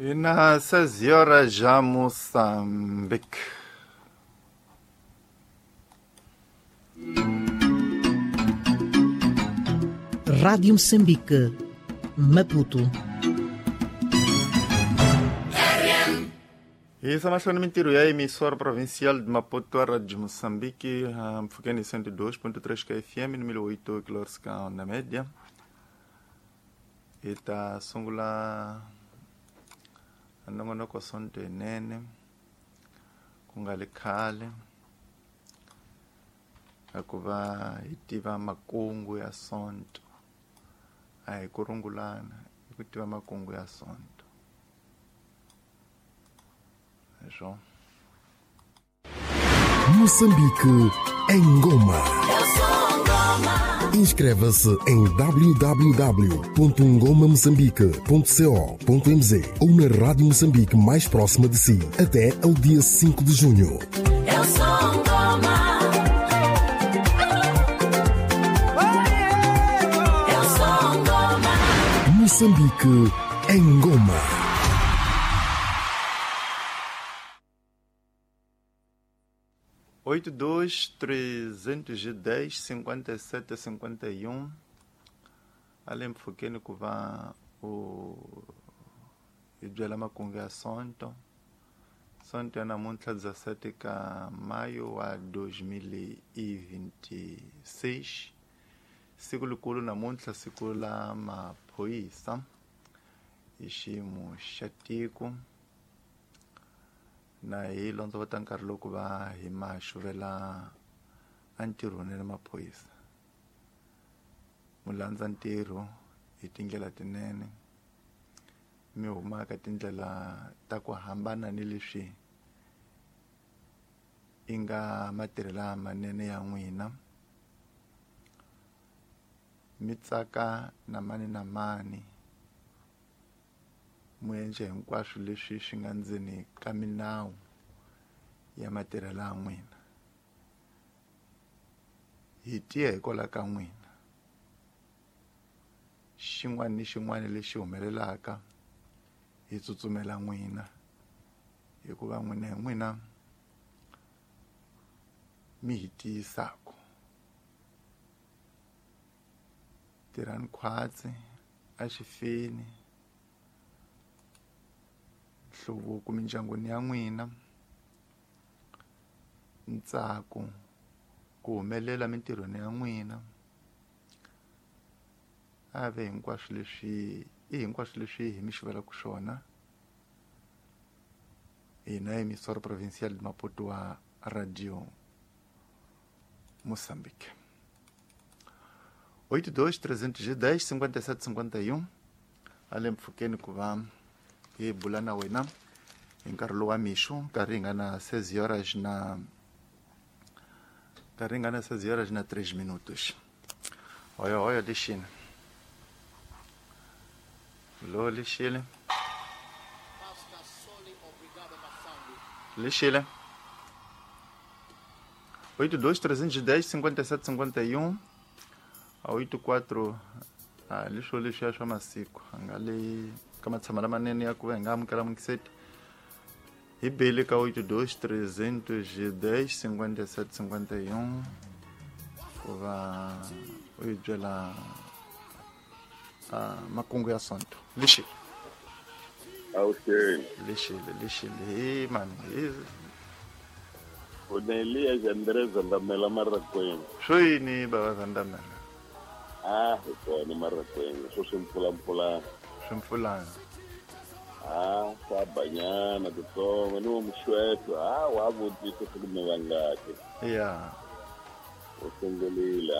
E na 6 horas já Moçambique. Rádio Moçambique, Maputo. Isso é mais mintirho ya emissora provincial de Maputo, a Rádio Moçambique, mpfukeni 102.3 kFM, 1008 kHz na média. Hi ta sungula nongonoko sonto yinene ku nga li khale hikuva hi tiva makungu ya sonto, a hi ku rungulana, i ku tiva makungu ya sonto. Hi. Moçambique em Goma. Inscreva-se em www.ngomamoçambique.co.mz ou na Rádio Moçambique mais próxima de si até ao dia 5 de junho. Eu sou Ngoma. Eu sou Ngoma. Moçambique em Goma. Oito dois 310 57 51 além mpfukeni ku va u hi byela makungu ya sonto. Sonto ya namuntlha 17 ka maio wa 2026, siku likulu namuntlha, siku la maphorisa hi xiyimo xa tiko. Na hi londzovota nkarhi loko va hi ma xuvela entirhweni na maphorisa, mu landza ntirho hi tindlela tinene, mi huma ka tindlela ta ku hambana ni leswi i nga matirhelo lamanene ya n'wina, mi tsaka na mani na mani, mu endle hinkwaswo leswi swi nga ndzeni ka minawu ya matirhelo ya n'wina. Hi tiya hikwalaho ka n'wina, xin'wana ni xin'wana lexi humelelaka hi tsutsumela n'wina, hikuva n'wina hi n'wina mi hi tiyisaka. Tirhani khwatsi axifeni, nhluvuko mindyangwini ya n'wina, ntsako ku humelela mintirhweni ya n'wina, a ve hinkwaswo leswi i hinkwaswo leswi hi mi xuvelaka swona hina emissora provincial de Maputo wa Radio Moçambique. 82 310 57 51 ale mpfhukeni ku va hi bula na wena hi nkarhi lowu wa mixo, nkarhi hi nga na 6 horas na nkarhi hi nga na 6 horas na 3 minutos. Hoyo hoyo lexini lo lexile lexile 82 310 57 51 a 84 a leswo leswiya swa masiku a nga le ka matshama lamanene ya ku va hi nga amukela mukiseti hi beli ka 82 310 57 51 ku va u hi byela makungu ya sonto. Lexile Awuxeni. Lexile lexile hi mani hi Onelia Jandreza Ndamela Marakweng. Swo yini bava za Ndamela? Ah, hi kona Marakweng, swo swi mpfulampfulana. Swi mpfulana. Ah, swa banyana titsongo ni wo muxweto. Ah, wa vutisa ku mi vangaki. Ya. U sungurile.